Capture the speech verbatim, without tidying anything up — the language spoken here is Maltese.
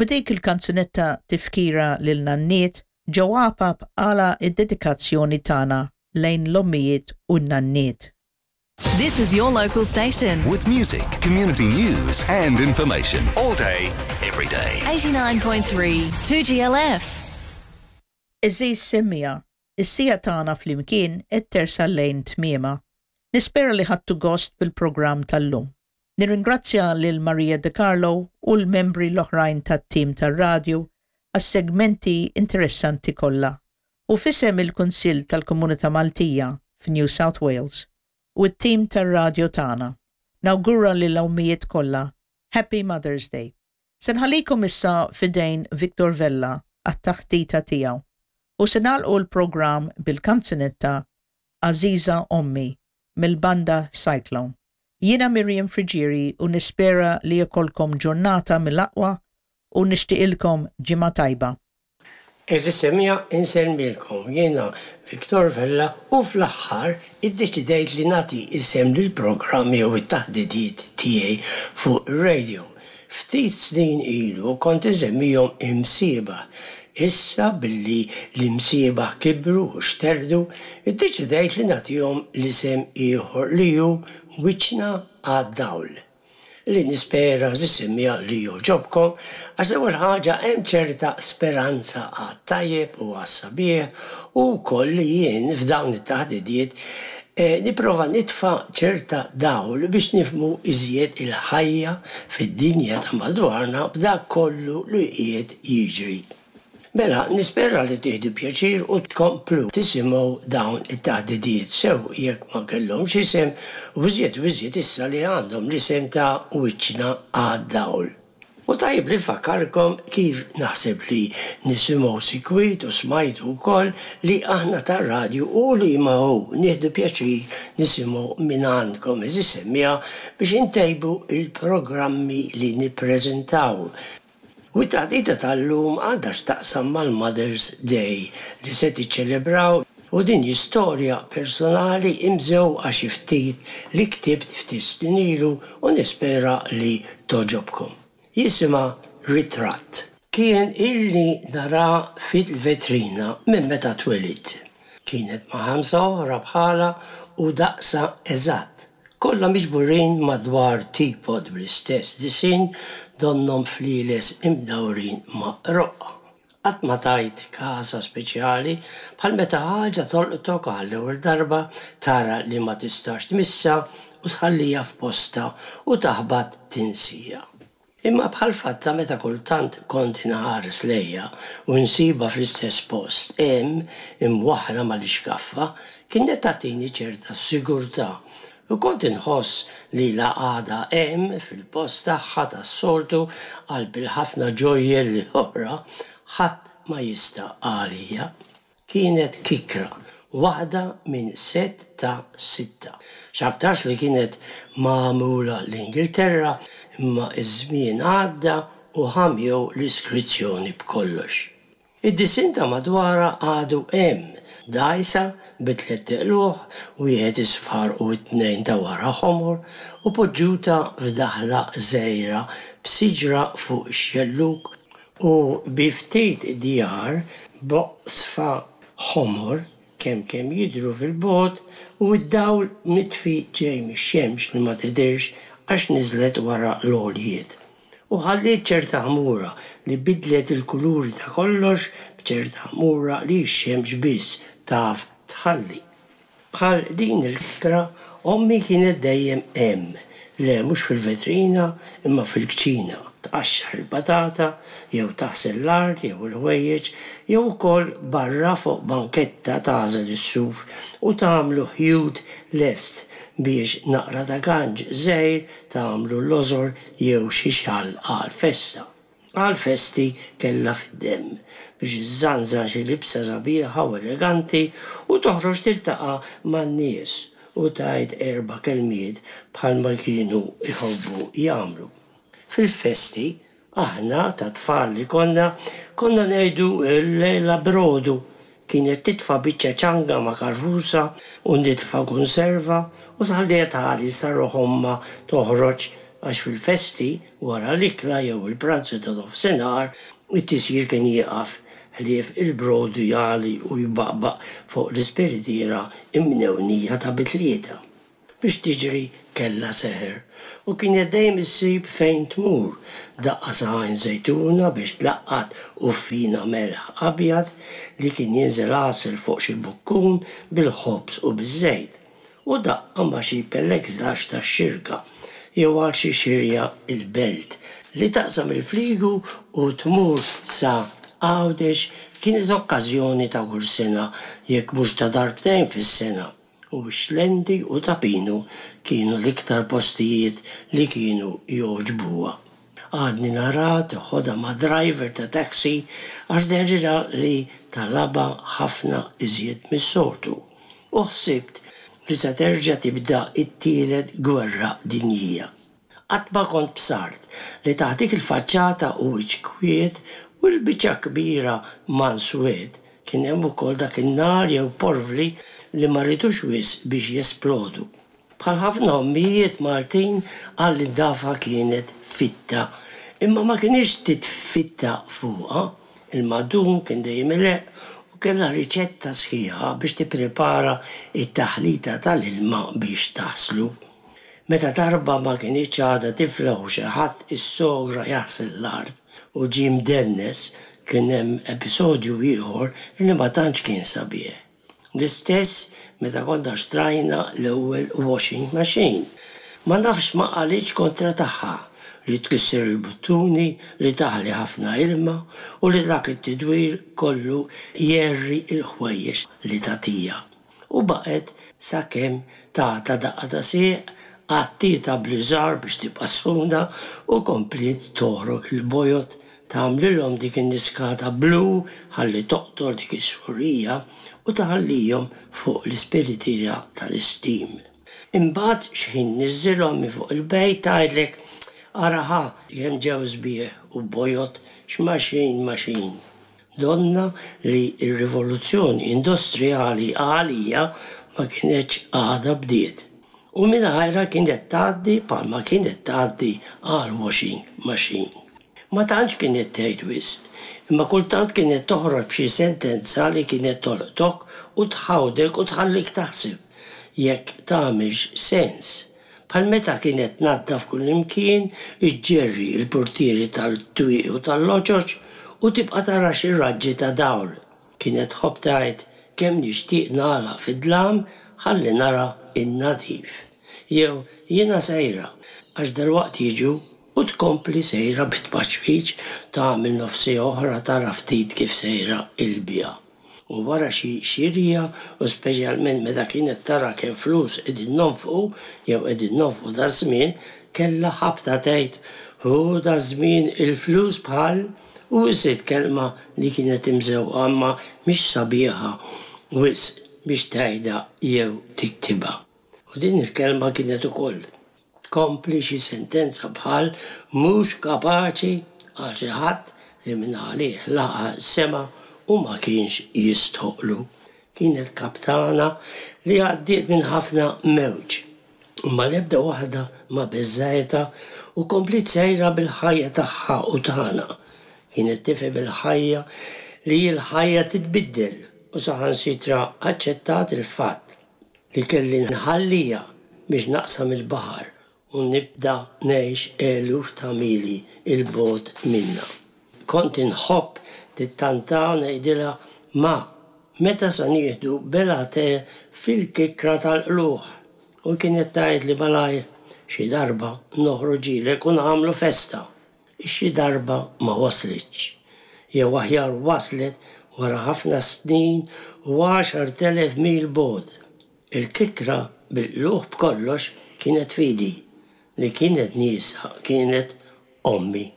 b'dik il-kanzunetta tifkira lil nanniet Joe Apap għala id-dedikazzjoni tagħna lejn l-ommijiet u n-nanniet. This is your local station. With music, community news, and information all day, every day. eighty-nine point three two G L F. Għeżież semmiegħa, is-siegħa tagħna flimkien qed tersaq lejn tmiemha. Nispera li ħadtu gost bil-programm tal-lum. Nirringrazzja lil Maria De Carlo u l-membri l-oħrajn tat-tim tar-radju għas-segmenti interessanti kollha. U f'isem il-Kunsill tal-Komunità Maltija f'New South Wales u t-tim tar-radju tagħna. Nawgura lil ommijiet kollha Happy Mother's Day. Se nħallikom issa f'idejn Victor Vella għat-taħdita tiegħu. U se nagħlqu l-programm bil-kanzunetta Għażiża Ommi mill-banda Cyclone. Jiena Miriam Frigieri u nispera li jkollkom ġurnata mill-aqwa u nixtieqilkom ġimgħa tajba. Għeżież semmiegħa, insellmilkom, jiena Victor Vella u fl-aħħar iddeċidejt li nagħti isem lill-programmi u it-taħdidiet tiegħi fuq ir-radio. Ftit snin ilu kont insemmihom Imsiebaħ. Issa billi l-imsiebaħ kibru u xterdu, iddeċidejt li nagħtihom l-isem ieħor li hu Wiċċna għad-Dawl, li nispera, għeżież semmiegħa, li jogħġobkom, għax l-ewwel ħaġa hemm ċerta speranza għat-tajjeb u għas-sabiħ u wkoll li jien f'dawn it-taħdidiet eh, nipprova nitfa' ċerta dawl biex nifhmu iżjed il-ħajja fid-dinja ta' madwarna b'dak kollu li qiegħed jiġri. Mela, nispera li tieħdu pjaċir u tkomplu tisimgħu dawn it-taħdidiet sew jekk ma kellhomx isem u iżjed u iżjed issa li għandhom l-isem ta' Wiċċna għad-Dawl. U tajjeb li nfakkarkom, kif naħseb li nisimgħu sikwit u smajtu wkoll, li aħna tar-radju u li ma hu nieħdu pjaċir nisimgħu minn għandkom, għeżież semmiegħa, biex intejbu il-programmi li nippreżentaw. U t-taħdita tal-lum għandha x'taqsam mal-Mother's Day li se tiċċelebraw u din istorja personali imżewqa xi ftit li ktibt ftit snin ilu u nispera li togħġobkom. Jisimha Ritratt. Kien ili nara fil-vetrina minn meta twelidt. Kienet ma' ħamsa oħra bħala u daqsha eżatt. Kollha miġburin madwar teapot bl-istess disinn, donnhom flieles imdawrin ma' roqqa. Qatt ma tajt kasha speċjali, bħal meta ħaġa tolqtok għall-ewwel darba, tara li ma tistax tmissa u tħallija f'posta u taħbat tinsieha. Imma bħal fatta meta kultant kont inħares lejha u nsibha fl-istess post hemm imwaħħla mal-ixkaffa, kienet tagħtini ċerta sigurtà u kont inħoss li la għadha hemm fil-post tagħha tas-soltu qalb il-ħafna ġojjelli oħra, ħadd ma jista' għalija. Kienet kikra, waħda minn set ta' sitta. X'aktarx li kienet magħmula l-Ingilterra, imma iż-żmien għadda u ħamjew l-iskrizzjoni b'kollox. Id-disinn ta' madwarha għadu hemm, dgħajsa bi tliet qlugħ, wieħed isfar u t-tnejn ta' wara ħomor, u poġġuta f'daħla żgħira b'siġra fuq ix-xelluk u bi ftit djar b'oqsfa ħomor kemm kemm jidhru fil-bogħod u id-dawl mitfi ġej mix-xemx li ma tidirx għax niżlet wara l-għoljiet. U ħalliet ċerta ħmura li bidlet il-kuluri ta' kollox, b'ċerta ħmura li x-xemx biss taf tħalli. Bħal din il-kikra, ommi kienet dejjem hemm, le mhux fil-vetrina imma fil-kċina, tqaxxar il-patata, jew taħsel l-art jew il-ħwejjeġ, jew ukoll barra fuq banketta tagħżel is-suf u tagħmlu ħjut lest biex naqra ta' ganġ żgħir tagħmlu lożor jew xi xall għal-festa. Għal-festi kellha fid-demm biex iżżanżan xi libsa sabiħa u eleganti u toħroġ tiltaqa' man-nies u tgħid erba' kelmiet bħalma kienu jħobbu jagħmlu. Fil-festi, aħna ta' tfal li konna, konna ngħidu l-lejla brodu. Kienet titfa' biċċa ċanga ma' karfusa u nitfa' konserva u tħalliha tagħli sa ruħ ommha toħroġ. Għax fil-festi, wara l-ikla jew il-pranzu ta' nofsinhar, it-tisjir kien jieqaf ħlief il-brodu jagħli u jbaqbaq fuq l-ispiritiera imnewnija ta' bi tlieta. Biex tiġri kellha seħer u kienet dejjem issib fejn tmur, daqqa sa Għajn Żejtuna biex tlaqqat uffina melħ abjad li kien jinżel għasel fuq xi bukkun bil-ħobż u biż-żejt, u daqqa ma' xi pellegrinaġġ tax-Xirka jew għal xi xirja l-Belt li taqsam il-fliegu u tmur sa Għawdex kienet okkażjoni ta' kull sena jekk mhux ta' darbtejn fis-sena. U x-Xlendi u Ta' Pinu kienu l-iktar postijiet li kienu jogħġbuha. Għadni naraha teħodha ma' driver ta' taxi għax dehrilha li talabha ħafna iżjed mis-soltu. U ħsibt li se terġa' tibda t-tielet gwerra dinjija. Qatt ma kont bsart li taħt dik il-faċċata u wiċċ kwiet u l-biċċa kbira manswed kien hemm ukoll dak in-nar jew porvli li ma ridux wisq biex jesplodu. Bħal ħafna ommijiet Maltin għall-indafa kienet fitta, imma ma kinitx titfitta fuqha. Il-madum kien dejjem ileqq u kellha riċetta sħiħa biex tipprepara t-taħlita tal-ilma biex taħslu. Meta darba ma kinitx għadha tiflaħ u xi ħadd issogra jaħsel l-art u ġie mdennes, kien hemm episodju ieħor li ma tantx kien sabiħ. L-istess meta konna xtrajna l-ewwel washing machine. Ma nafx ma qalitx kontra tagħha, li tkisser il-buttuni, li taħli ħafna ilma u li dak it-tidwir kollu jgħerri l-ħwejjeġ li tagħtiha. U baqgħet sakemm tatha daqqa ta' sieq, għattietha bl-iżar biex tibqa' sħuna u kompliet togħrok il-bojod, tagħmlilhom dik in-niskata blu ħalli toqtol dik is-sħurija u tħallihom fuq l-ispiritiera tal-istim. Imbagħad x'ħin tniżżilhom minn fuq il-bejt tgħidlek, Ara ħa kemm ġew sbieħ u bojod x'machine machine. Donnha li r-rivoluzzjoni industrijali għalija ma kinetx għadha bdiet. U mingħajrha kienet tgħaddi bħalma kienet tgħaddi għall-washing machine. Ma tantx kienet tgħid wisq, imma kultant kienet toħroġ b'xi sentenza li kienet tolqtok u tħawdek u tħallik taħseb jekk tagħmilx sens. Bħal meta kienet tnaddaf kullimkien, iġġerri l-purtieri tal-twieqi u tal-loġoġ u tibqa' tara xi raġġi ta' dawl. Kienet tħobb tgħid kemm nixtieq nagħlaq fid-dlam ħalli nara n-nadif. Jew jiena sejra għax dalwaqt jiġu u tkompli sejra bit-tpaċpiċ tagħmel nofs siegħa oħra tara ftit kif sejra l-biegħa. U wara xi xirja u speċjalment meta kienet tara kemm flus qegħdin nonfqu jew qegħdin nonfqu daż-żmien, kellha ħabta tgħid, Hu daż-żmien il-flus bħal u iżid kelma li kienet imżewqa imma mhix sabiħa wisq biex tgħidha jew tiktibha. U din il-kelma kienet ukoll tkompli xi sentenza bħal mhux kapaċi għal xi ħadd li mingħalih laqa' s-sema u ma kienx jistħoqqlu. Kienet kaptana li għaddiet minn ħafna mewġ, imma l-ebda waħda ma beżżgħetha u kompliet sejra bil-ħajja tagħha u tagħna. Kienet tifhem il-ħajja li l-ħajja titbiddel u saħansitra aċċettat il-fatt li kelli nħalliha biex naqsam il-baħar u nibda ngħix eluf ta' mili 'l bogħod minnha. Kont inħobb nittanta u ngħidilha, Ma, meta sa nieħdu belgħa te fil-kikkra tal-qlugħ? U kienet tgħidli malajr, Xi darba noħroġilek u nagħmlu festa. Ix-xi darba ma waslitx. Jew aħjar waslet wara ħafna snin u għaxart elef mil bogħod. Il-kikkra bil-qlugħ b'kollox kienet f'idi. Li kienet nieqsa kienet ommi.